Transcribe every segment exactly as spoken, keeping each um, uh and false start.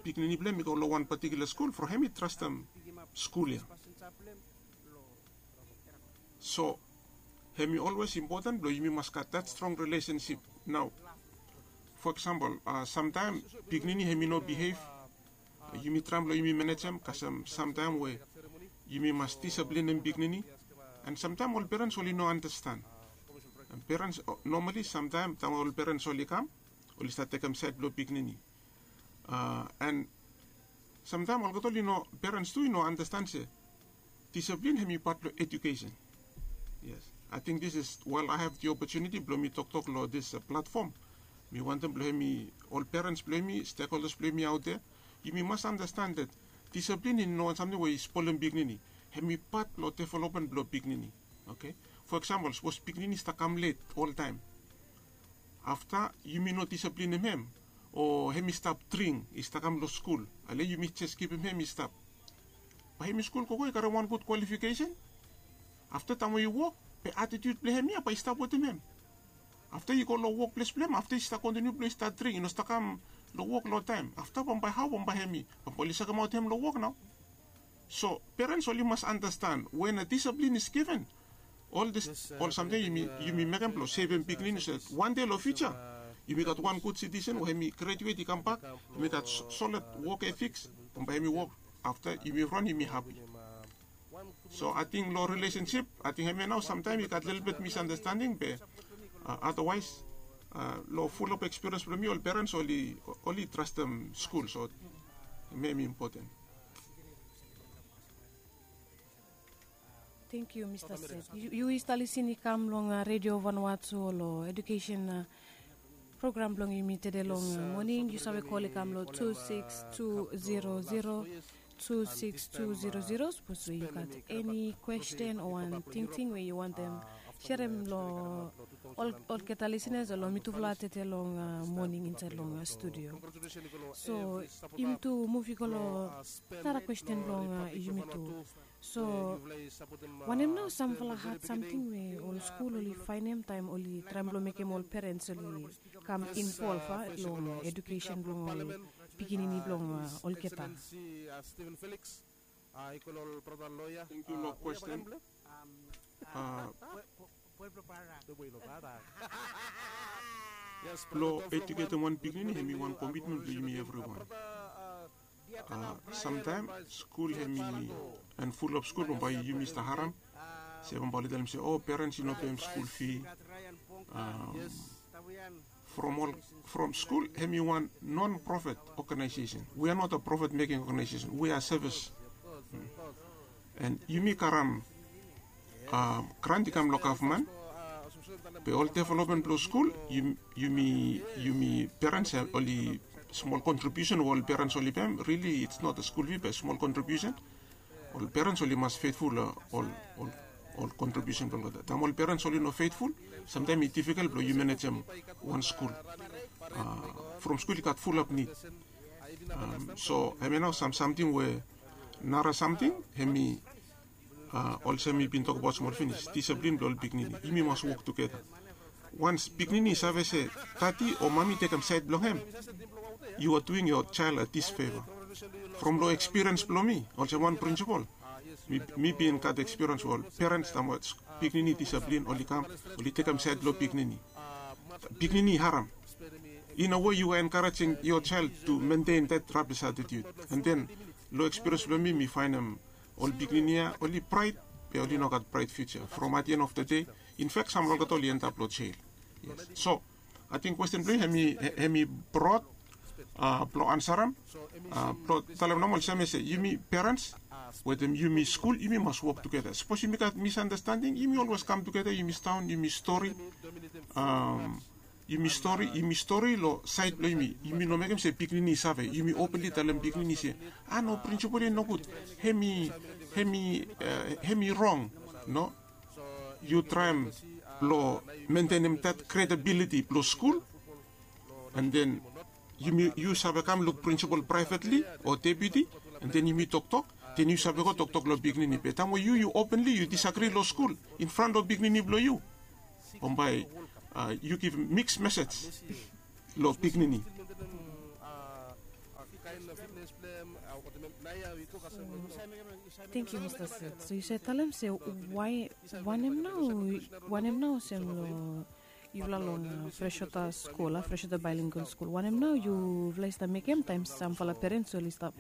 pikinini blong hem i go long wan patikula skul from hem i trastem skul ya. So hem i olwes impoten blong yumi mas gat that strong relationship. Nao, for example, samtaem pikinini hem i no bihev, yumi traem blong yumi manejem kasem samtaem we yumi mas disaplinem pikinini. And samtaem ol perens oli no andastan. Perens, nomali samtaem taem ol perens oli kam, oli stat tekem saed blong pikinini. And samtaem olgeta oli no, perens tu i no andastan se disaplin hem i pat blong edukesen. Yes, ating this is while I have the opportunity blong mi toktok long this platfom, mi wantem blong hem i, ol perens blong hem i, stekholdas blong hem i aot ya, yumi mas andastan that disaplin i no wan samting we i spolem pikinini. Hem i pat long developmen blong pikinini. Oke, fo eksampol sapos pikinini i stap kam let oltaem, afta yumi no disaplinem hem, o hem i stap dring i stap kam long skul, ale yumi jes kipim hem i stap, bae hem i skul gogo i karem wan gud kwalifikesen. Afta taem we i wok, be atitiut blong hem ya bae i stap wetem hem. Afta i go long wokples blong hem, afta i stap kontiniu blong i stap dring, i no stap kam long wok long taem, afta bambae hao bambae hem i, bambae oli sekemaot hem long wok nao. So perens oli mas andastan we na disaplin is given, ol dis, ol samting yumi mekem blong sevem pikinini so that wan dei long fiuja yumi gat wan gud sitisen we hem i grajuet i kambak, hem i gat solid wok etiks, bambae hem i wok, afta yumi ran yumi hapi. So ating long rilesensip, ating hemia nao samtaem i gat lelebet misandastanding be adawaes long fulap ekspiriens blong mi ol perens oli trastem skul, so hemia hem i impoten. Tangkiu mista Seth. Yu i stap lisin i kam long redio Vanuatu long edukesen program blong yumi tede long moning. Yu save kol i kam long tu sikis tu zero zero, tu sikis tu zero zero. Sapos we yu gat eni kwesten o wan tingting we yu wantem serem long olgeta lisinas o long mitufala tede long moning insaed long studio. So yumi tu muv i go long nara kwesten blong yumi tu. So wanem nao samfala had samting we ol skul oli faenem taem oli traem blong mekem ol perens oli kam involv long edukesen blong ol pikinini blong olgeta? Tangkiu long kwesten. Blong ejuketem wan pikinini hem i wan komitmen blong yumi evriwan. Samtaem skul hem i, and fulap skul bambae yumi stap harem se bambae oli talem se o perens i no pem skul fi. From ol, from skul hem i wan non profit organization. We are not a profit making organization, we are service. And yumi karem grant i kam long gavman, be ol developmen blong skul yumi, yumi perens oli smol kontribiusen we ol perens oli pem, rili it's not a skul fi be smol kontribiusen. Ol perens oli mas fetful long ol kontribiusen blong olgeta. Taem ol perens oli no fetful, samtaem i difikel blong yu manejem wan skul. From skul i gat fulap nid. So hemia nao sam samting we nara samting hem i olsem mi bin tokbaot smol finis, disaplin blong ol pikinini, yumi mas wok tugeta. Wans pikinini i save se dadi o mami i tekem saed blong hem, you are doing your child a disfavor. From long ekspiriens blong mi olsem wan prinsipol, mi bin gat ekspiriens we ol perens taem we pikinini i disaplin oli kam, oli tekem saed blong pikinini. Pikinini i harem. In a way you are encouraging your child to maintain that rubbish attitude. And then long ekspiriens blong mi mi faenem ol pikinini ya oli praed, be oli no gat praed fiuja. From at the end of the day, in fact samfala olgeta oli endap long jel. So ating kwesten blong yu hem i brod blong ansarem, blong talem nomo olsem se yumi perens wetem yumi skul yumi mas wok tugeta. Sapos yumi gat misandastanding yumi olwes kam tugeta, yumi sidaon yumi stori, yumi stori, yumi stori long saed blong yumi. Yumi no mekem se pikinini i save, yumi openli talem pikinini se a no, prinsipol ya i nogud, hem i, hem i, hem i rong. No, yu traem blong mentenem that kredibiliti blong skul. And then yumi, yu save kam luk prinsipol praevetli o deputi, and then yumi toktok, then yu save go toktok long pikinini. Be taem we yu, yu openli yu disagri long skul in fran long pikinini blong yu, bambae yu givim miks mesej long pikinini. Thank you, Mr. Seth. So yu save talem se why wanem nau wanem nau olsem long yufala long uh, Freshwater School, uh, Freshwater Bilingual School. Wanem nau yufala i stap mekem taem samfala parents oli stap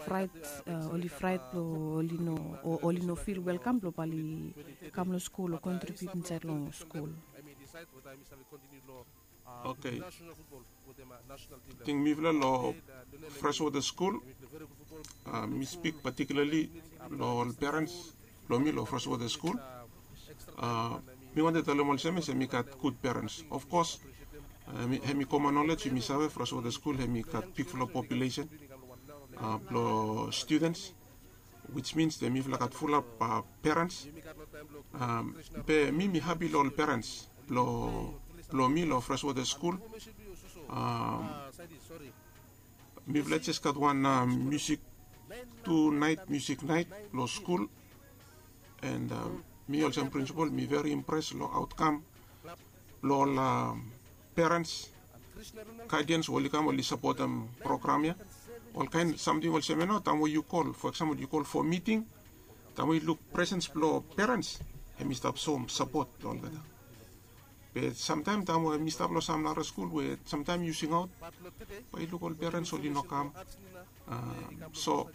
fright, uh, oli fright blong oli no o oli no feel welcome blong bali kam long school o contribute inside long school. Okay. Ting mifala lo Freshwater School, uh, mi speak particularly lo ol parents blo mi lo Freshwater School. Uh, mi wantem talem olsem se mi gat good parents. Of course, uh, mi, hemi common knowledge, mi save Freshwater School hemi gat bigfala population uh, blo students, which means that mifala gat fulap uh, parents. Um, be mi mi happy lo ol parents blo, blo mi lo Freshwater School. Um, mifala jes gat wan uh, music, two night music night lo school. And um, mi olsem principal mi very impressed lo outcome blo ol um, parents, guardians we oli kam oli sapotem program ya. Olkaen samting olsem ya nao, taem we yu kol, for example, yu kol for meeting, taem we yu luk presence blo parents, hemi stap soem sapot lo olgeta. Be samtaem taem we mi stap lo sam nara skul we samtaem yu singaot, bae yu luk ol parents oli no kam. Um, so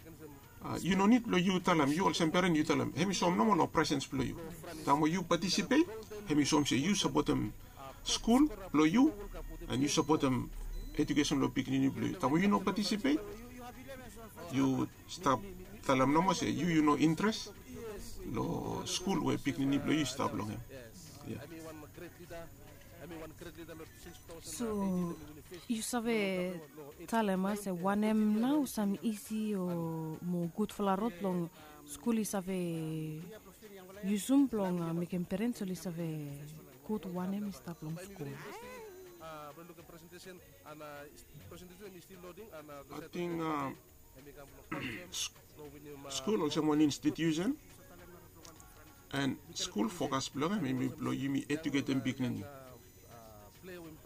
uh, yu no nid blo yu talem, yu olsem parent yu talem, hemi soem nomo lo presence blo yu. Taem we yu participate, hemi soem se yu sapotem skul blo yu, and yu sapotem education blo pikinini blo yu. Taem we yu no participate, yu stap talem nomo se yu yu no interest lo skul we pikinini blo yu i stap long hem. Yeah. So yu save talem a se wanem nao sam isi o mo gudfala rod blong skul i save yusum blong uh, mekem parents oli save gud wanem i stap long skul. Ating uh, skul olsem wan institution, and skul fokas blong hem hemi blo yumi eduketem pikinini.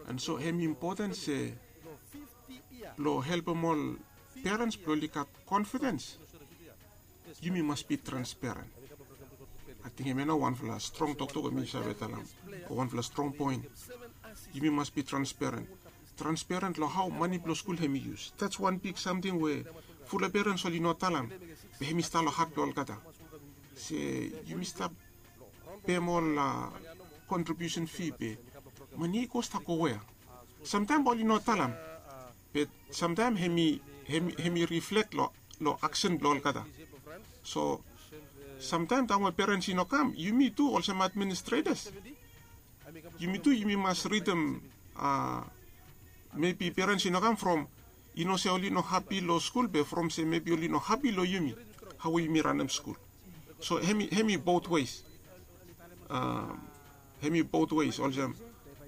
And so hemi impoten se blo helpem ol parents blo oli gat confidence, yumi mas bi transparent. Ating hemia nao wanfala strong toktok we mi save talem, o wanfala strong poen. Yumi mas bi transparent. Transparent lo hao mane blo skul hemi yus. That's wan big samting we fulap parents oli no talem, be hemi stap lo hat blo olgeta. Se yumi stap pem ol uh, contribution fee be mane i go stap go wea? Samtaem bae oli no talem, be samtaem hemi hemi hemi reflect lo lo aksen blo olgeta. So samtaem taem we parents i no kam, yumi tu olsem administrators, yumi tu yumi mas ridim uh, maybe parents i no kam from i no se oli no hapi lo skul, be from se maybe oli no hapi lo yumi, hao we yumi ranem skul. So hemi hemi both ways. Um, hemi both ways olsem,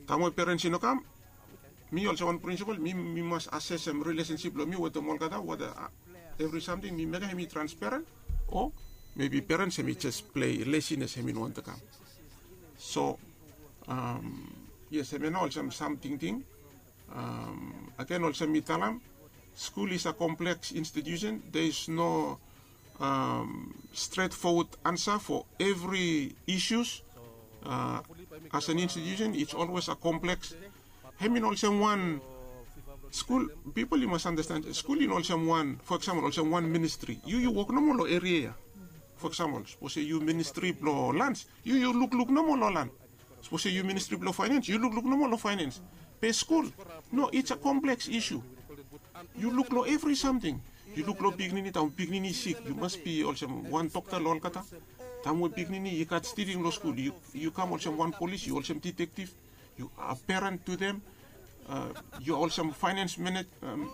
taem we parents i no kam, mi olsem wan principal mi mi mas assessem relationship blo mi wetem olgeta, whether uh, evri samting mi mekem hemi transparent, o maybe parents hemi jes play laziness, hemi no wantem kam. So um, yes, hemia nao olsem sam tingting. Um, agen olsem mi talem, skul is a complex institution. There is no um, straightforward answer for every issues. Uh, as an institution, it's always a complex. Hemi no olsem wan skul, pipol i mas andasten, skul i no olsem wan, for example, olsem wan ministri. Yu yu wok nomo lo eria ya. For example, sapos se yu ministri blo lands, yu yu lukluk nomo lo land. Sapos se yu ministri blo finance, yu lukluk nomo lo finance. Be skul, no, it's a complex issue. Yu luk lo evri samting. Yu luk lo pikinini, taem pikinini i sik, yu mas bi olsem wan dokta lo olgeta. Taem we pikinini i gat stiling lo skul, yu kam olsem wan polis, yu olsem detektiv. Yu a parent to them. Uh, yu olsem finance manage, um,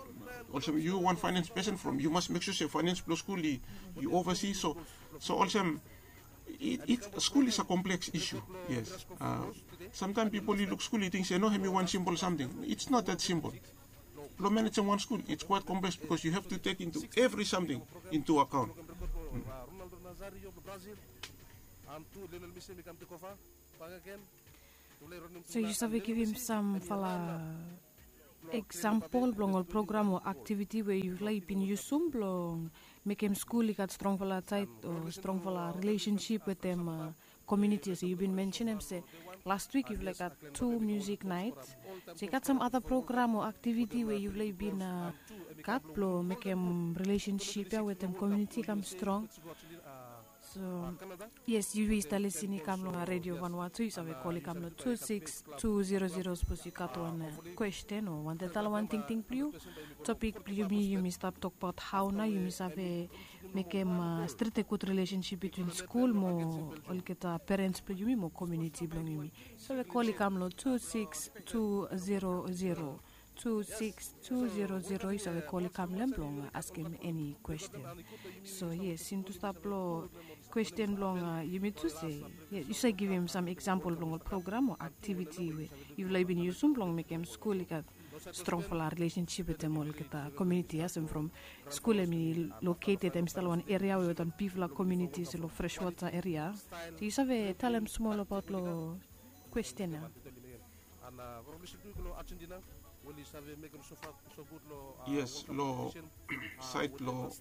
olsem yu wan finance person from, yu mas mek sua se finance blo skul i oversee. So so olsem, skul is a complex issue. Yes. Uh, samtaem pipol i luk skul i ting se no, hemi wan simpol samting. It's not that simple. Blo manejem wan skul, it's quite complex because you have to take into every samting into account. So yu save givim samfala Eksampol blong ol program o aktiviti we yufala i bin yusum blong mekem skul i gat strongfala tait o strongfala rilesensip wetem komuniti, se yu bin mensenem se last wik yufala i gat tu musik nait. So i gat sam ada program o aktiviti we yufala i bin gat blong mekem rilesensip ya wetem komuniti i kam strong. So yes, yu i stap lisin i kam long redio vanua tu, yu save kol i kam long tu siks tu zero zero. Sapos yu gat wan kwesten o wantaim tala wan tingting blong yu. Topik blong yumi, yumi stap tokbaot hao nao yumi save mekem stret gud rilesensip bitwin skul mo olgeta perens blong yumi mo komuniti blong yumi. Yu save kol i kam long tu siks tu zero zero, tu siks tu zero zero. Yu save kol i kam long hem blong askem eni kwesten. So yes, yumi tu stap long kwesten blong yumi tu se yu save givim sam eksampol blong ol program o aktiviti we yufala i bin yusum blong mekem skul i gat strongfala rilesensip wetem olgeta komuniti ya, olsem from skul hem i loketed hem i stap long wan eria we wetem bigfala komuniti se long freswota eria. So yu save talem smol abaot long kwesten ya? Yes, long sait long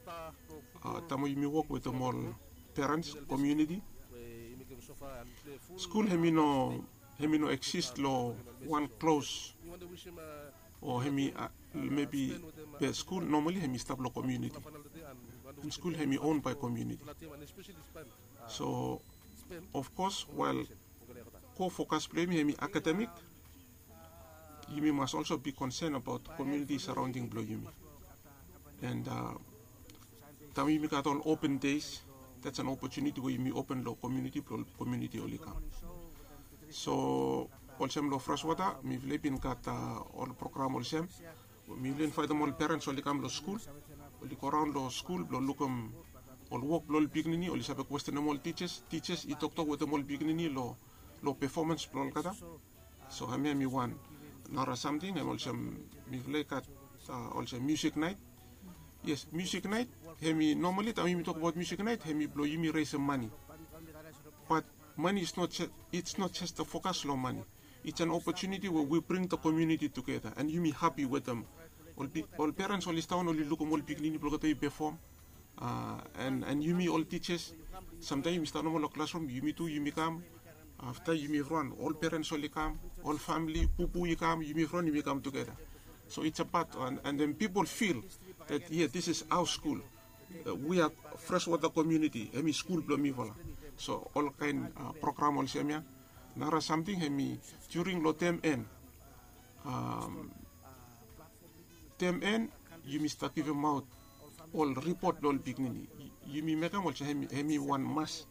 taem we yumi wok wetem ol perens komuniti, skul hem i no hem i no eksis long wan klos o hem i mebi be skul nomali hem i stap long komuniti. An skul hem i on bae komuniti. So of kos wael ko fokas blong yumi hem i akademik, yumi mas olso bi konsen abaot komuniti saraonding blong yumi. An taem yumi gat ol open des, dats an opotuniti we yumi open long komuniti blong ol komuniti oli kam. So olsem long freswota mifala i bin gat ol program olsem, mifala i invaetem ol perens oli kam long skul, oli goraon long skul blong lukim ol wok blong ol pikinini, oli save kwestenem ol tijas, tijas i toktok wetem ol pikinini long pefomans blong olgeta. So hemia hem i wan nara samting hem olsem mifala i gat olsem musik nait. Yes, musik nait hem i nomali taem yumi tokbaot musik nait hem i blong yumi resem mane. Bat mane it's not just a fokas long mane. It's an opotuniti we wi bring da komuniti tugeta an yumi hapi wetem ol perens oli staon oli lukim ol pikinini blong olgeta i pefom. An yumi ol tijas, samtaem yumi stap nomo long klasrum yumi tu yumi kam. Afta yumi evriwan ol perens oli kam, ol famili pupu i kam, yumi evriwan yumi kam tugeta. So it's a pat an then pipol fil that yeah, this is our school. Wi a freswota komuniti hem i skul blong mifala. So olkaen program olsem ya. Nara samting hem i during long tem en tem en yumi stap givimaot ol ripot blong ol pikinini. Yumi mekem olsem hem i wan mas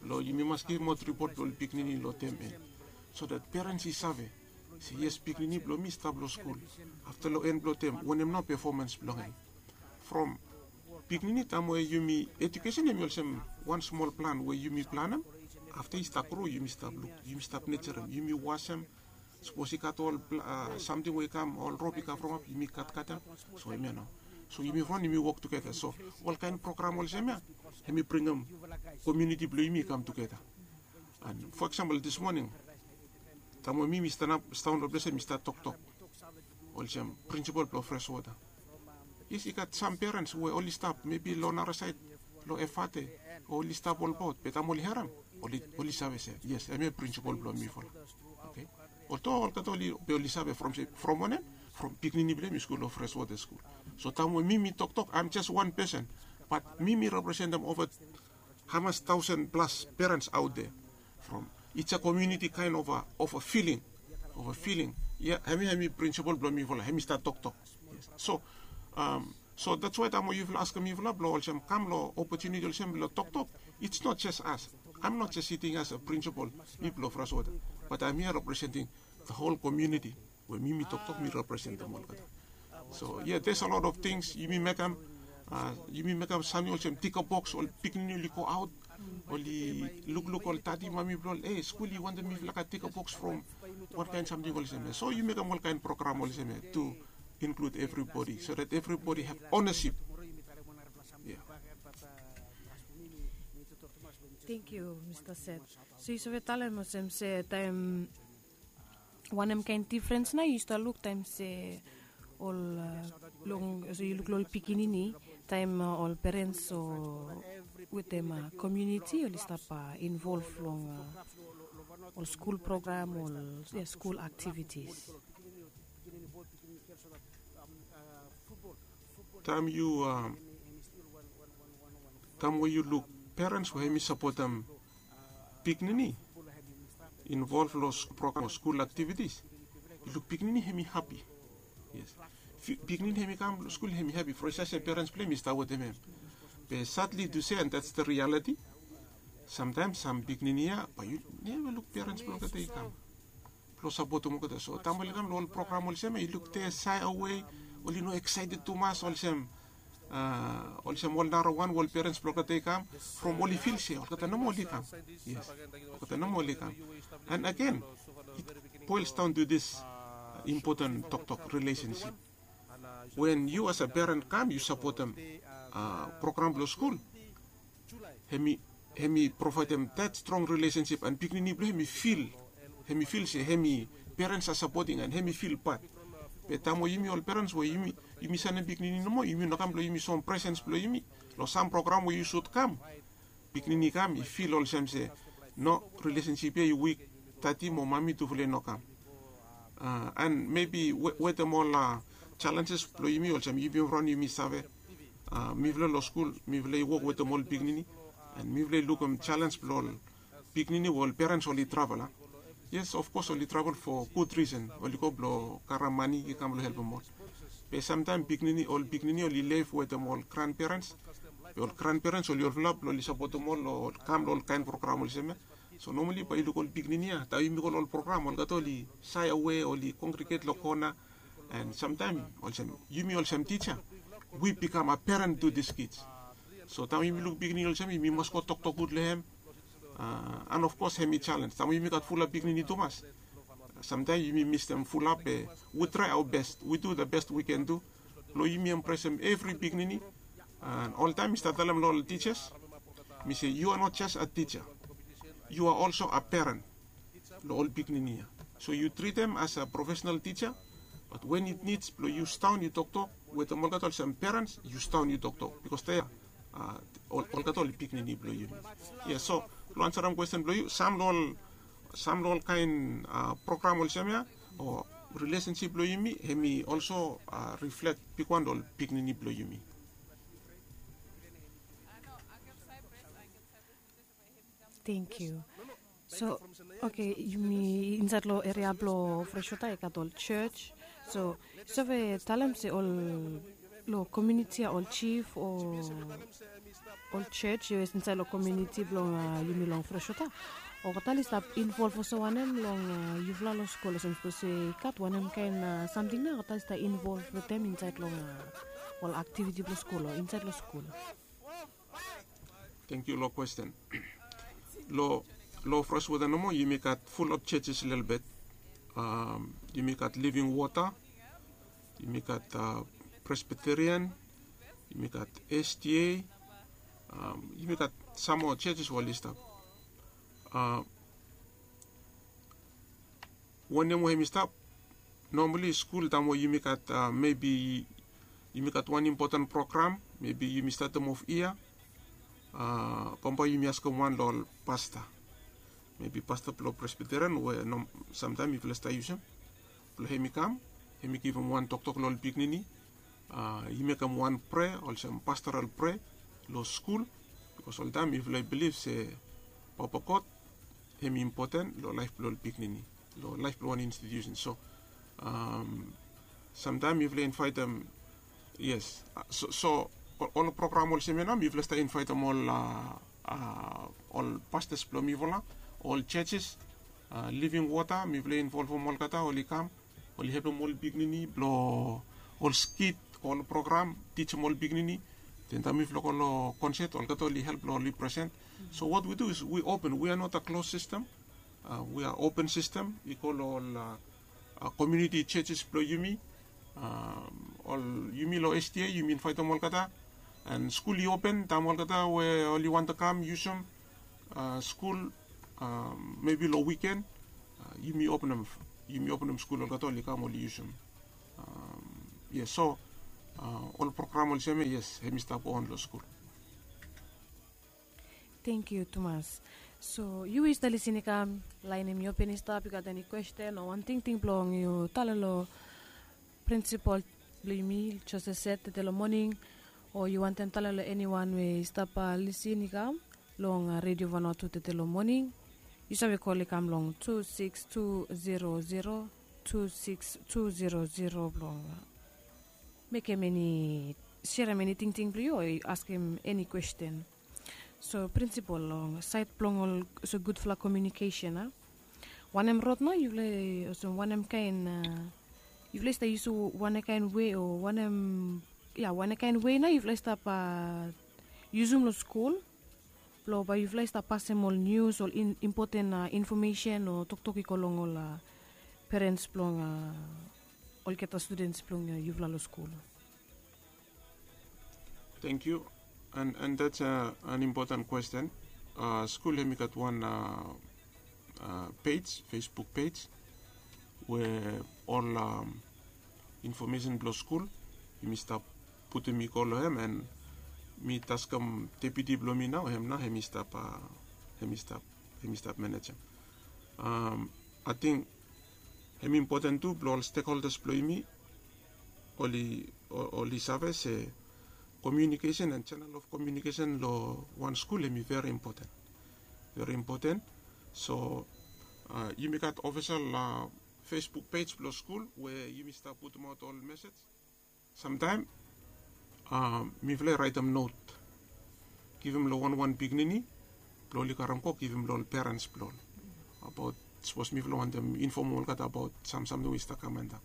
blong yumi mas givimaot ripot blong ol pikinini long tem en, so dat perens i save se yes, pikinini blong mi i stap long skul. Afta long en blong tem wanem nao pefomans blong hem? From pikinini taem we yumi, ejukesen hem i olsem wan smol plan we yumi planem. Afta i stap gro yumi stap luk, yumi stap nejerem, yumi wasem. Sapos i gat ol samting we i kam, ol rop i kam from ap, yumi katkatem. So hemia nao. So yumi wan yumi wok tugeta. So olkaen program olsem ya hem i bringim komuniti blong yumi i kam tugeta. An fo eksampol dis moning taem we mi mi stanap staon long ples ya mi stap toktok olsem prinsipol blong freswota. Yes, i gat sam perens we oli stap mebi long nara saed long efate o oli stap olbaot be taem oli harem oli save se yes, hemia prinsipol blong mifala. Oke. Olto olgeta oli be oli save from se from wanem? From pikinini blong hem i skul long freswota skul. So taem we mi mi toktok aem jes wan pesen, bat mi mi representem ova hamas taosen plas perens aot de. From it's a komuniti kaen ova ova filing ova filing. Ya hemia hemi prinsipol blong mifala hemi stap toktok. So so dats wae taem we yufala askem mifala blong olsem kam long opotuniti olsem blong toktok. It's not jes as aem not jes siting as a prinsipol mi blong freswota, bat aem ya representing da hol komuniti we mi mi toktok mi representem olgeta. So ya des a lot of tings yumi mekem yumi mekem samting olsem tika boks ol pikinini oli go aot oli lukluk ol tati mami blong ol e skul i wantem mifala gat tika boks from wankaen samting olsem ya. So yu mekem olkaen program olsem ya tu include everybody so that everybody have ownership. Thank you Mr. Seth. So yu save talem olsem se taem wanem kaen difrens nao yu stap luk taem se Ol long so yu luk long ol pikinini taim ol perens o wetem komuniti oli stap involv long ol skul program ol skul aktivitis. Taim yu taim we yu luk perens we hem i sapotem pikinini involv long program o skul aktivitis, yu luk pikinini hem i hapi. Yes. Pikinini hem i kam long skul hem i hapi from i save se perens blong hem i stap wetem hem. Be sadli tu se and that's the reality. Samtaim sam pikinini ya bai yu neva luk perens blong olgeta i kam blong sapotem olgeta. So taim oli kam long ol program olsem ya yu luk de sae awe, oli no excited tumas olsem olsem ol narawan we ol perens blong olgeta i kam from oli fil se olgeta nomo oli kam. Yes, olgeta nomo oli kam. And again, it boils down to this important toktok relationship. When yu as a peren kam yu sapotem program blong skul, hem i provaidem that strong relationship and pikinini blong hem i fil hem i fil se hem i perens a sapoting and hem i fil pat. Be taim we yumi ol perens we yumi sanem pikinini nomo yumi no kam blong yumi som presens blong yumi long sam program we yu sud kam, pikinini i kam i fil olsem se no, rilesensip ya i wik. Tati mo mami tufala i no kam. And mebi wetem ol jalenjes blong yumi olsem yumi raun yumi save mifala long skul mifala i wok wetem ol pikinini and mifala i lukim jalens blong ol pikinini we ol perens oli travel a. Yes, of kos oli travel fo gud risen oli go blong karam mani i kam long helpim ol. Be samtaim pikinini ol pikinini oli lef wetem ol granperens be ol granperens oli olfala blong oli sapotem ol long kam long ol kain program olsem ya. So nomali bai yu luk ol pikinini ya taim yumi go long ol program olgeta oli sae awe oli kongriget long kona. And samtaim olsem yumi olsem tija wi bikam a peren tu dis kits. So taim yumi luk pikinini olsem yumi mas go toktok gud long hem. And of kos hem i jalens taim yumi gat fulap pikinini tumas. Samtaim yumi mistem fulap be wi trai awa best wi du da best wi ken du blong yumi empresem evri pikinini. And oltaim mi stap talem long ol tijas mi se yu a not jes a tija, yu a olso a peren long ol pikinini ya. So yu tritem as a profesenal tija bat wen it nids blong yu staon yu toktok wetem olgeta olsem perens yu staon yu toktok bikos de ya olgeta ol pikinini blong yumi. Yes, so long ansarem kwesten blong yu sam long ol sam long ol kain program olsem ya o rilesensip blong yumi hem i olso riflek bigwan long ol pikinini blong yumi. Thank you. So oke, yumi insait long eria blong freshwater i gat ol church. So yu save talem se ol long komuniti ya ol chief o ol church yu insait long komuniti blong yumi long freshwater olgeta oli stap involv olsem wanem long yufala long skul olsem sapos i gat wanem kain samting na olgeta oli stap involv wetem insait long ol aktiviti blong skul o insait long skul? Thank yu long kwesten. Long long freshwater nomo yumi gat fulap churches lelebet. Yumi gat living water, yumi gat presbyterian, yumi gat sda, yumi gat sam moa churches we oli stap. Wanem we hem i stap? Nomali skul taim we yumi gat mebi yumi gat wan impoten program mebi yumi statem of yia. Bambae yumi askem wan long ol pasta mebi pasta blong presbiterian we samtaim yufala stap yusum blong hem i kam hem i givim wan toktok long ol pikinini. I mekem wan prea olsem pastoral prea long skul. Bikos oltaim yufala i bilif se papa god hem i impoten long laef blong ol pikinini long laef blong wan institusen. So samtaim mifala invaitim yes so ol program olsem ya nao mifala stap invaitim ol ol pastas blong mifala, ol churches, living water mifala involvim olgeta oli kam oli helpim ol pikinini blong ol skit ol program tijim ol pikinini. Den taim mifala go long concert olgeta oli help long oli present. So what we do is we open, we are not a closed system. We are open system i go long ol community churches blong yumi. Ol yumi long sda yumi invaitim olgeta and skul i open taim olgeta we oli wantem kam yusum skul mebi long wiken yumi openem yumi openem skul olgeta oli kam oli yusum. Yes, so ol program olsem ya, yes, hem i stap go on long skul. Thank you tumas. So yu we yu stap lisin i kam, lain hem i open i stap, yu gat eni kwesten o wan tingting blong yu tale long prinsipol blong yumi, Joseph Set, tete long moning, o yu wantem tale long eniwan we i stap lisin i kam long redio Vanuatu tete long moning, yu save kol i kam long tu sikis tu zero zero tu sikis tu zero zero blong mekem eni, serem eni tingting blong yu o askem eni kwesten. So prinsipol, long saed blong ol so gudfala komiunikesen a, wanem rod nao yufala, olsem wanem kaen, yufala i stap yusum wanem kaen wei o wanem, ya, wanem kaen wei nao yufala i stap yusum long skul blong bae yufala i stap pasem ol nius, ol impoten infomesen o toktok i go long ol perens blong olgeta studens blong yufala long skul? Thank you. And that's an important question. Skul hem i gat wan pej, Facebook pej, we ol infomesen blong skul yumi stap putum i go long hem, and mi taskem deputi blong mi nao, hem nao hem i stap, hem i stap, hem i stap manejem. Ating hem i impoten tu blong ol stekholdas blong yumi oli, oli save se komiunikesen and channel of komiunikesen long wan skul hem i veri impoten, veri impoten. So yumi gat ofisel Facebook pej blong skul we yumi stap putumaot ol mesej. Samtaem mifala i raetem not, givim long wanwan pikinini blong oli karem go givim long ol perens blong ol, abaot sapos mifala wantem infomem olgeta abaot sam samting we i stap kam antap.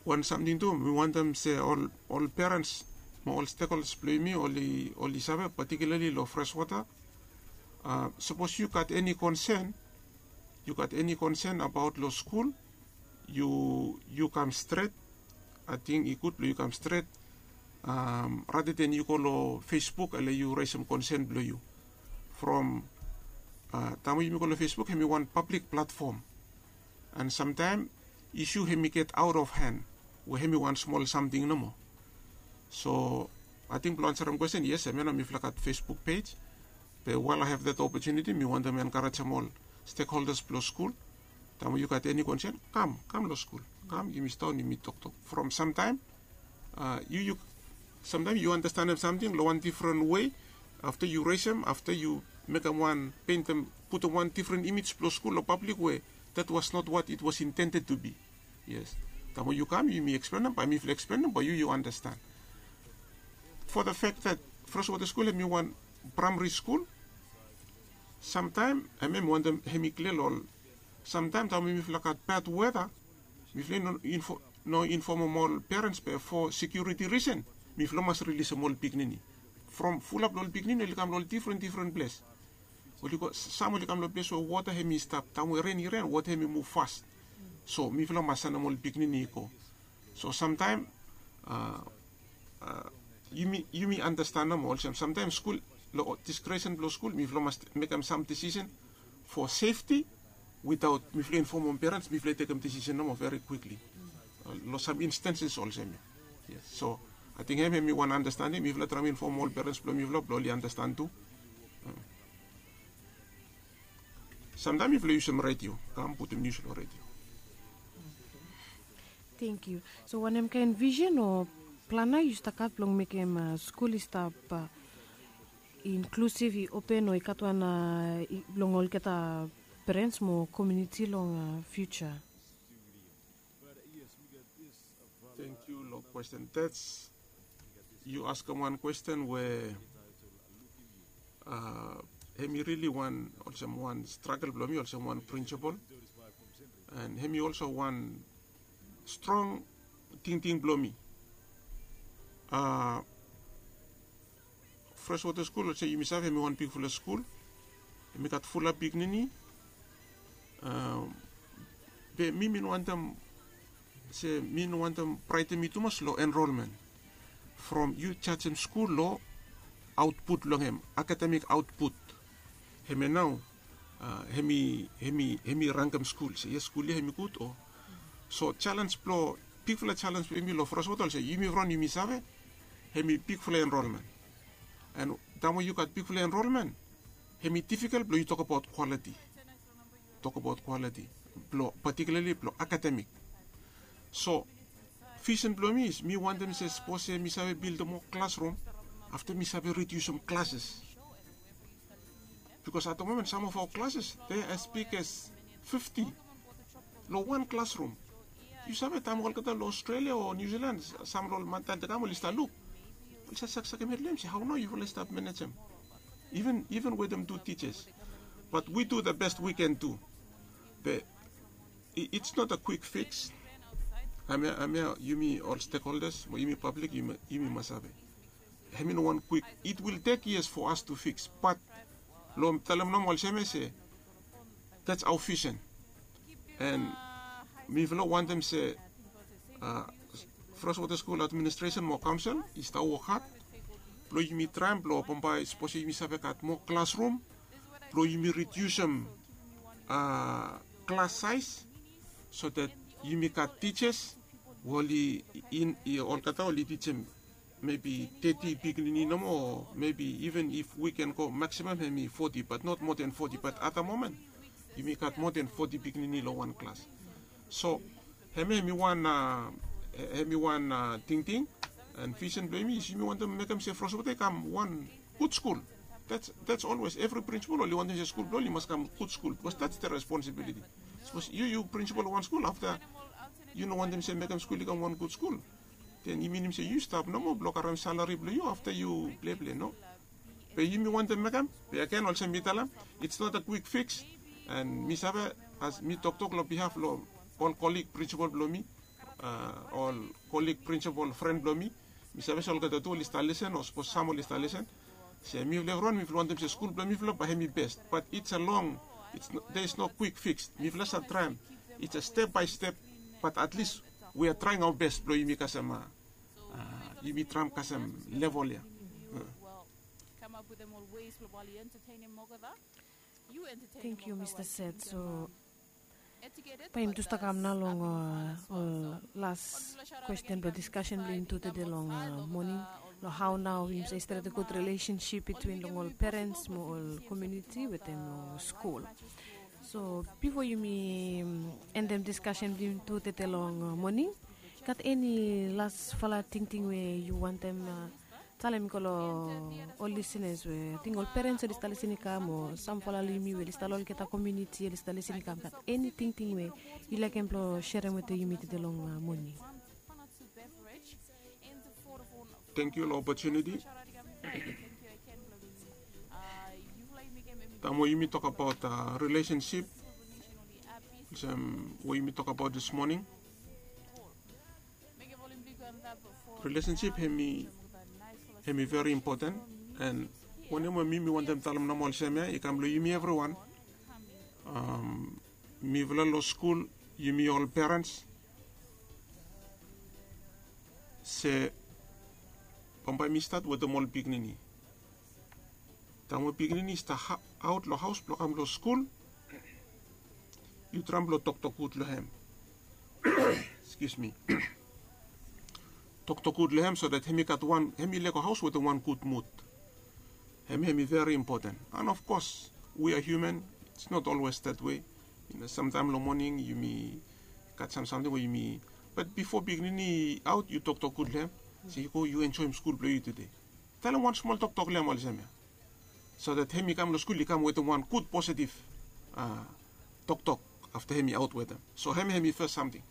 Wan samting tu mi wantem se ol perens mo ol stekholdas blong yumi oli save, patikilarli long freswota, sapos yu gat eni konsen, yu gat eni konsen abaot long skul, yu kam stret. Ating i gud blong yu kam stret rather than yu go long Facebook ale yu resem konsen blong yu. From taem we yumi go long Facebook hem i wan pablik platfom, and samtaem isu hem i get aot of hen we hem i wan smol samting nomo. So ating blong ansarem kwesten, yes, hem ya nao mifala gat Facebook pej. Be while I have that opportunity mi wantem enkarejem ol stekholdas blong skul, taem we yu gat eni konsen, kam, kam long skul, kam yumi sidaon yumi toktok. From samtaem yu, yu samtaem yu andastanem samting long wan difren wei afta yu resem, afta yu mekem wan, pentem, putum wan difren imej blong skul long pablik we that was not what it was intended to be. Yes. Taem we yu kam yumi eksplenem, bae mifala eksplenem bae yu, yu andastan. For the fact that Freshwater School hem i wan praemari skul, samtaem hem, hem i wantem hem i klia long ol. Samtaem taem we mifala gat bad weta, mifala i no infomem ol perens be for security reason mifala mas rilisem ol pikinini. From fulap long ol pikinini oli kam long ol difren difren ples. Oli go, sam oli kam long ples we wota hem i stap, taem we ren i ren wota hem i muv fas. So mifala mas sanem ol pikinini i go. So samtaem yumi, yumi andastan nomo olsem samtaem skul, long diskresen blong skul mifala mas mekem sam disisen for sefti witaot mifala i infomem perens, mifala i tekem disisen nomo veri kwikli long sam instanses olsem ya. Yes. So ating hem, hem i wan andastaning, mifala traem infomem ol perens blong mifala blong oli andastan tu. Samtaem mifala yusum redio, kam putum nius long redio. Thank you. So wanem kaen visen o plan nao yu stap gat blong mekem skul i stap inklusiv, i open, o i gat wan blong olgeta perens mo komuniti long fiuja? Thank you long kwesten. That's, yu askem wan kwesten we hem i rili wan, olsem wan stragel blong mi olsem wan prinsipol, and hem i olso wan strong tingting blong mi. Freshwater School olsem yumi save hem i wan bigfala skul, hem i gat fulap pikinini. Be mi, mi no wantem se, mi no wantem braetem yu tumas long enrolmen. From yu jajem skul long aotput blong hem, akademik aotput, hemia nao hem i, hem i, hem i rangem skul se yes, skul ya hem i gud o So challenge blong, bigfala challenge blong yumi long Freshwater olsem yumi evriwan yumi save, hemi bigfala enrolment. And taem we yu gat bigfala enrolment, hemi difficult blong yu tokbaot quality, tokbaot quality blong, particularly blong academic. So vision blong mi is mi wantem se sapos se mi save bildim moa classroom, afta mi save ridiusim classes. Because at the moment some of our classes they are as big as fifty long wan classroom. Yu save taem olgeta long Australia o New Zealand, sam long ol mantael de kam oli stap luk, oli stap saksakem hed long hem se hao nao yufala i stap manejem, even even wetem tu teachers. But we do the best we can do. Be it's not a quick fix. Amia, amia, yumi ol stakeholders mo yumi public yumi, yumi mas save, hemi no wan quick. It will take years for us to fix, but long talem nomo olsem ia se that's our vision. And mifala wantem se uh, Freshwater School Administration mo Council i stap wok had blong yumi traem blong bambae sapos yumi save gat moa classroom blong yumi ridiusim uh, class size, so that yumi gat teachers we oli in, i olgeta oli teaching maybe thirty pikinini nomo, or maybe even if we can go maximum hemi forty, but not more than forty. But at the moment yumi gat more than forty pikinini long wan class. So hemi, hemi wan uh, hemi wan uh, tingting and vision blong yumi is yumi wantem mekem se Freshwater i kam wan gud skul. That's, that's always every principal oli wantem se skul blong oli mas kam gud skul, because that's the responsibility. Sapos yu, yu principal wan skul, afta yu no wantem se mekem skul i kam wan gud skul, then i minim se yu stap nomo blong karem salari blong yu afta yu pleple, no? Be yumi wantem mekem, be agen olsem mi talem, it's not a quick fix. And mi save, as mi toktok long behalf long ol colleague principal blong mi, uh, ol colleague principal friend blong mi, mi save se olgeta tu oli stap lisen o sapos sam oli stap lisen, se mifala evriwan mifala wantem se skul blong mifala bae hemi best, but it's a long, it's no, there is no quick fix. Mifala save traem, it's a step by step, but at least we are trying our best blong yumi kasem uh, uh, yumi traem kasem level ia. Thank you, Mr. Set. So bae yumi tu stap kam nao long ol las kwesten blong diskasen blong yumi tu tede long moning, long hao nao yumi save stret gud relationship between long ol parents mo ol komuniti wetem long skul. So bifo yumi endem diskasen blong yumi tu tede long moning, gat eni lasfala tingting we yu wantem talem i go long ol lisenas we ating ol perens oli stap lisen i kam o samfala long yumi we oli stap long olgeta komuniti oli stap lisen i kam, gat eni tingting we yu laekem blong serem wetem yumi tede long moning? Tengkiu long opotuniti. Taem we yumi tokbaot rilesensip olsem we yumi tokbaot dis moning, rilesensip hemi, hemi veri impoten. An wanem we mi mi wantem talem nomo olsem ya i kam long yumi evriwan. Mifala long skul, yumi ol perens, se bambae mi stat wetem ol pikinini. Taem we pikinini i stap aot long haos blong kam long skul, yu traem blong toktok gud long hem. Excuse me. Toktok gud long hem so dat hem i gat wan, hem i lego haos wetem wan gud mud. Hem, hem i veri impoten. An of kos, we are human, it's not always that way. Samtaem long moning yumi gat sam samting we yumi, bat bifo pikinini i aot yu toktok gud long hem, se yu go yu enjoem skul blong yu tede. Talem wan smol toktok long hem olsem ya, so dat hem i kam long skul i kam wetem wan gud positiv toktok afta hem i aot wetem. So hem, hem i fes samting.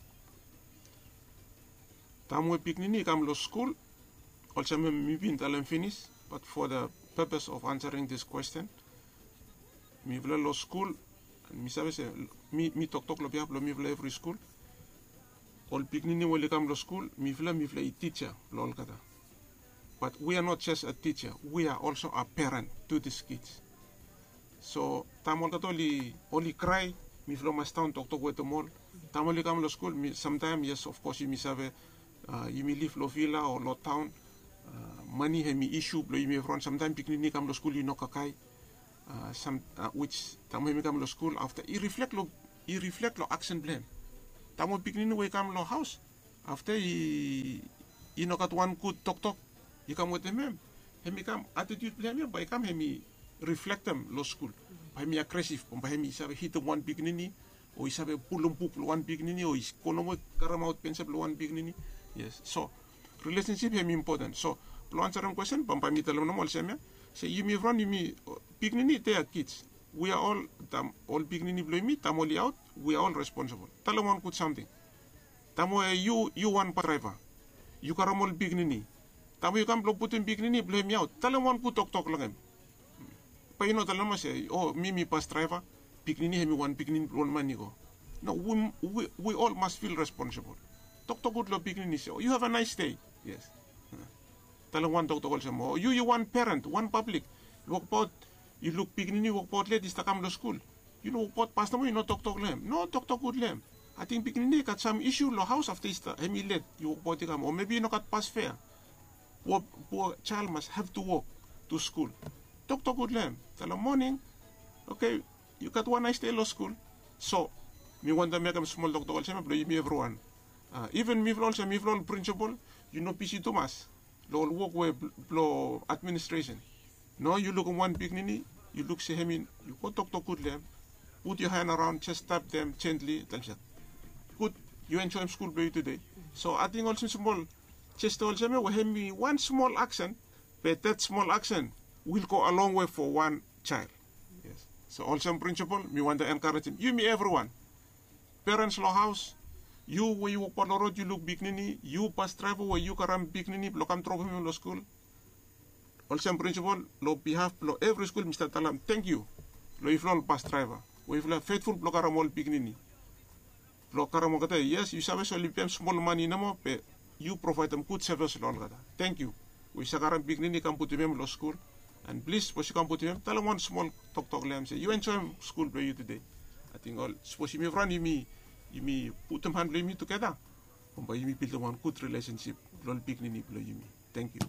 Taem we pikinini i kam long skul, olsem mi bin talem finis, bat fo the purpose of answering this question, mifala long skul, mi save se mi, mi toktok long bihaf blong mifala evri skul. Ol pikinini we oli kam long skul, mifala, mifala i tija blong olgeta. But we are not just a teacher, we are also a parent to these kids. So taem olgeta oli, oli krae, mifala mas daon toktok wetem ol. Taem oli kam long skul, samtaem, yes, of kos yumi save, yumi liv long vila o long taon, mane hem i isu blong yumi evriwan. Samtaem pikinini i kam long skul i no kakae, sam, wis taem hem i kam long skul afta i riflek long, i riflek long aksen blong hem. Taem ol pikinini we i kam long haos, afta i i no gat wan gud toktok i kam wetem hem, hem i kam, atitiut blong hem ya bae i kam hem i riflektem long skul. Bae hem i agresif, bae hem i save hitem wan pikinini, o i save pulum buk blong wan pikinini, o i go nomo karemaot pensa blong wan pikinini. Yes, so rilesensip hem i impoten. So blong ansarem kwesten, bambae mi talem nomo olsem ya, se yumi evriwan yumi, pikinini, they are kids. We are all, taem ol pikinini blong yumi taem oli aot, we are all responsible. Talem wan gud samting. Taem we yu yu wan bas draeva, yu karem ol pikinini. Taem we yu kam blong putum pikinini blong hem i aot, talem wan gud toktok long hem. Bae yu no talem se, o mi mi bas draeva, pikinini hem i wan pikinini blong ol man i go. No, we, we, we all must feel responsible. Toktok gud long pikinini se, o you have a nice day. Yes. Talem wan toktok olsem, o yu yu wan peren, wan pablik, wokbaot, yu luk pikinini wokbaot let i stap kam long skul. Yu no wokbaot pas nomo, yu no toktok long hem. No, toktok gud long hem. Ating pikinini i gat sam isu long haos afta i stap hem i let, yu wokbaot i kam, o mebi i no gat bas fea. Pua pua jael mas have to walk to skul. Toktok gud long hem. Talem moning, oke, yu gat wan nice day long skul. So mi wantem mekem smol toktok olsem ya blong yumi evriwan. Iven mifala olsem mifala ol prinsipol, yu no bisi tumas long ol wok we blong administresen. No, yu lukim wan pikinini, yu luk se hem i, yu go toktok gud long hem. Put yo han araon, jes tap dem jentli, talem se, gud, yu enjoem skul blong yu tude. So ating olsem smol jesta olsem ya we hem i wan smol aksen, be that smol aksen will go a long way for wan jael. Yes. So olsem prinsipol mi wantem enkarejem yumi evriwan. Perens long haos, yu we yu wokbaot long rod yu luk pikinini, yu bas draeva we yu karem pikinini blong kam dropem hem long skul. Olsem prinsipol, long bihaf blong evri skul mi stap talem tangkiu long yufala ol bas draeva we yufala fetful blong karem ol pikinini. Blong karem olgeta, yes, yu save soli pem smol mane nomo, be yu provaedem gud sevis long olgeta. Tangkiu we yu save karem pikinini kam putum hem long skul. An plis, sapos yu kam putum hem, talem wan smol toktok long hem se yu enjoem skul blong yu tude. Ating ol, sapos yumi evriwan yumi, yumi putum han blong yumi tugeta, bambae yumi bildim wan gud rilesensip blong ol pikinini blong yumi. Tangkiu.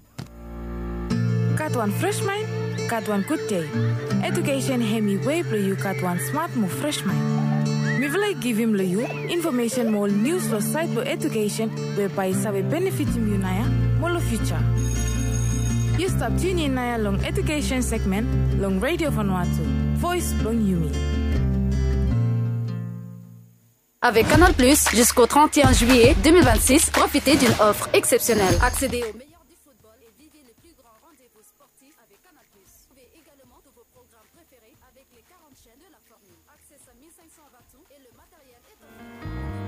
Gat wan fres maen, gat wan gud dei. Edukesen hem i wei blong yu gat wan smat mo fres maen. Mifala i givim long yu infomesen mo ol nius long saed blong edukesen we bae i save benefitim yu naoia mo long fiuja. Yu stap tiunin naoia long edukesen segmen long Redio Vanuatu, voes blong yumi. Avec Canal Plus, jusqu'au trente et un juillet deux mille vingt-six, profitez d'une offre exceptionnelle. Accédez aux meilleurs